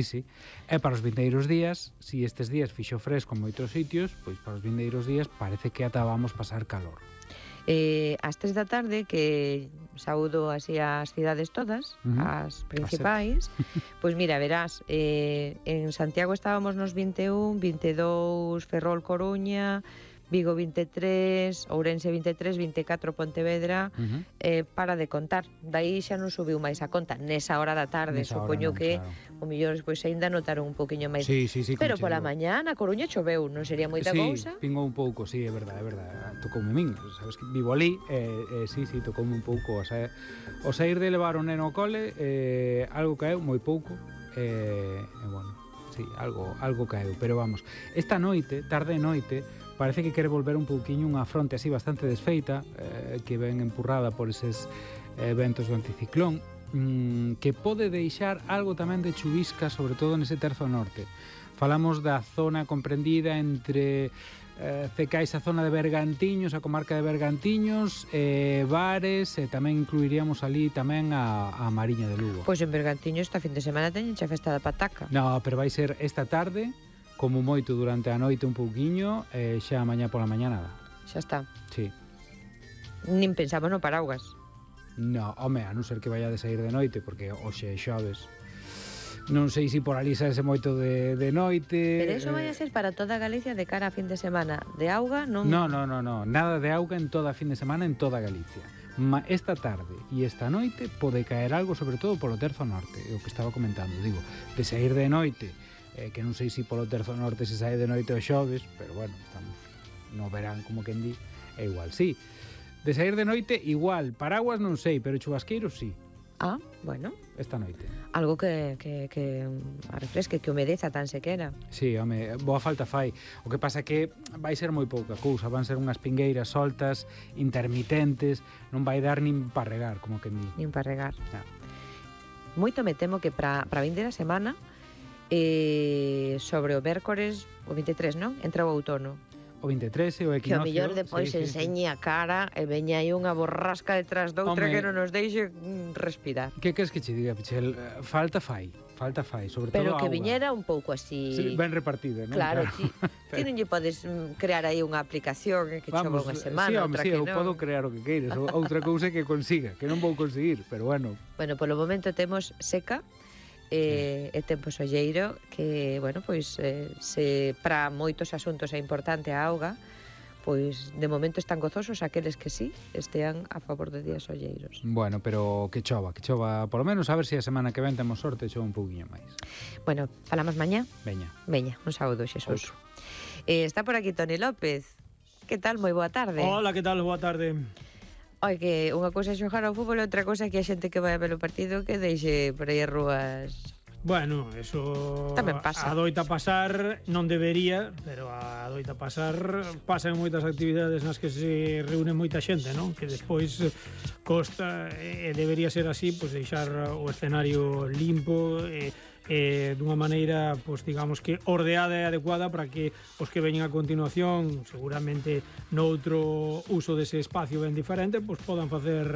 Sí. E para os vindeiros días, si estes días fixo fresco en moitos sitios, pois para os vindeiros días parece que ata vamos pasar calor. Ás 3 da tarde, que saúdo así as cidades todas, as principais, pois mira, verás, en Santiago estábamos nos 21, 22 Ferrol, Coruña, Vigo 23, Ourense 23, 24 Pontevedra, para de contar. Daí xa non subiu máis a conta nesa hora da tarde, Nesa supoño hora non, que claro. o mellor pois aínda notaron un poquinho máis. Sí, Pero como che pola digo. mañá na Coruña choveu, non sería moita cousa? Sí, pingou un pouco, sí, é verdade, tocoume a min, sabes que vivo ali, sí, tocoume un pouco, o sair de levar o neno ao cole, algo caeu, moi pouco, bueno, sí, algo caeu, pero vamos, esta noite, tarde e noite, parece que quere volver un pouquiño unha fronte así bastante desfeita, que ven empurrada por eses ventos do anticiclón, que pode deixar algo tamén de chuvisca, sobre todo nese terzo norte. Falamos da zona comprendida entre Cecais, a zona de Bergantiños, a comarca de Bergantiños, Bares, e tamén incluiríamos ali tamén a Mariña de Lugo. Pois en Bergantiños esta fin de semana teñen xa festa da pataca. No, pero vai ser esta tarde, como moito durante a noite un pouquiño, xa mañá pola mañá nada. Xa está. Sí. Nin pensamos no paraguas. No, home, a non ser que vaya de sair de noite, porque hoxe é xoves. Non sei se por ali saese moito de noite. Pero eso vai a ser para toda Galicia de cara a fin de semana. De auga non... No, nada de auga en toda a fin de semana en toda Galicia. Esta tarde e esta noite pode caer algo, sobre todo polo terzo norte, é o que estaba comentando, digo, de sair de noite, que non sei se polo terzo norte se sae de noite o xoves, pero bueno, estamos no verán, como quen di, é igual, sí. De sair de noite, igual, paraguas non sei, pero chubasqueiros sí. Ah, bueno. Esta noite. Algo que refresque, que humedeza tan sequera. Sí, home, boa falta fai. O que pasa que vai ser moi pouca cousa, van ser unhas pingueiras soltas, intermitentes, non vai dar nin para regar, como quen di. Nin para regar. No. Moito me temo que para vindeira semana, sobre o mércores, o 23, non? Entra o outono. O 23 e o equinoccio. Que o mellor depois enseñe a cara e veña aí unha borrasca detrás doutra que non nos deixe respirar. Que queres que che diga, Pichel? Falta fai, sobre pero todo que auga. viñera un pouco así... Sí, ben repartida, non? Claro, ti non lle podes crear aí unha aplicación que chova unha semana, outra que non. Sí, eu podo crear o que queiras. Outra cousa que consiga, que non vou conseguir, pero bueno. Bueno, polo momento temos seca, e tempo solleiro que, bueno, pois se para moitos asuntos é importante a auga, pois de momento están gozosos aqueles que sí estean a favor de días solleiros. Bueno, pero que chova, polo menos a ver se a semana que ven temos sorte e chova un pouquiño máis. Bueno, falamos mañá? Veña, un saúdo, Xesús. Está por aquí Toni López. Que tal? Moi boa tarde. Hola, que tal? Boa tarde. Oi, que unha cousa é xogar ao fútbol e outra cousa é que a xente que vai a ver o partido que deixe por aí as rúas. Bueno, eso tamén pasa. Adoita pasar, non debería, pero adoita pasar, pasan moitas actividades nas que se reúne moita xente, non? Que despois costa, e debería ser así, pois deixar o escenario limpo dunha maneira, pois digamos que ordeada e adecuada para que os que veñen a continuación, seguramente noutro uso dese espacio ben diferente, pois podan facer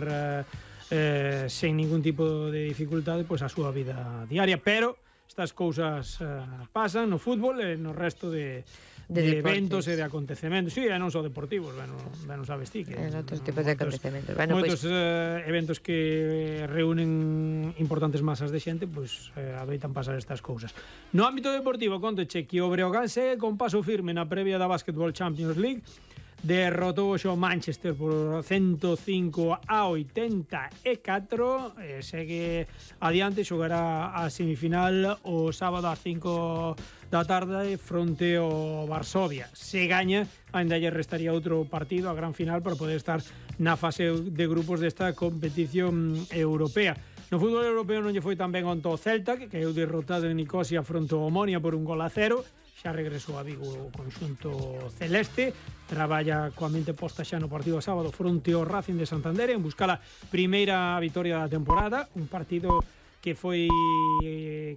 sen ningún tipo de dificultade pois a súa vida diaria, pero estas cousas pasan no fútbol e no resto de eventos e de acontecementos. Sí, e non só deportivos, ben o sabes ti que en outros tipos de acontecementos. Bueno, moitos eventos que reúnen importantes masas de xente, pois adoitan pasar estas cousas. No ámbito deportivo, contoche que o Breogán segue con paso firme na previa da Basketball Champions League. Derrotou o Manchester por 105-84, segue adiante, xogará a semifinal o sábado ás 5 da tarde fronte ao Varsovia. Se gaña, ainda lle restaría outro partido, a gran final, para poder estar na fase de grupos desta competición europea. No fútbol europeo non lle foi tan ben onto o Celta, que caeu derrotado en Nicosia fronte ao Omonia por 1-0. Xa regresou a Vigo o conxunto celeste, traballa coa mente posta xa no partido sábado fronte ao Racing de Santander en buscar a primeira vitoria da temporada, un partido que foi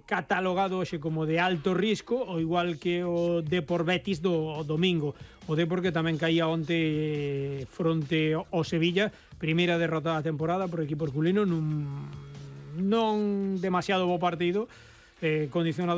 catalogado hoxe como de alto risco, ao igual que o Depor Betis do domingo. O Depor que tamén caía onte fronte ao Sevilla, primeira derrota da temporada por equipo herculino non demasiado bo partido, condicionado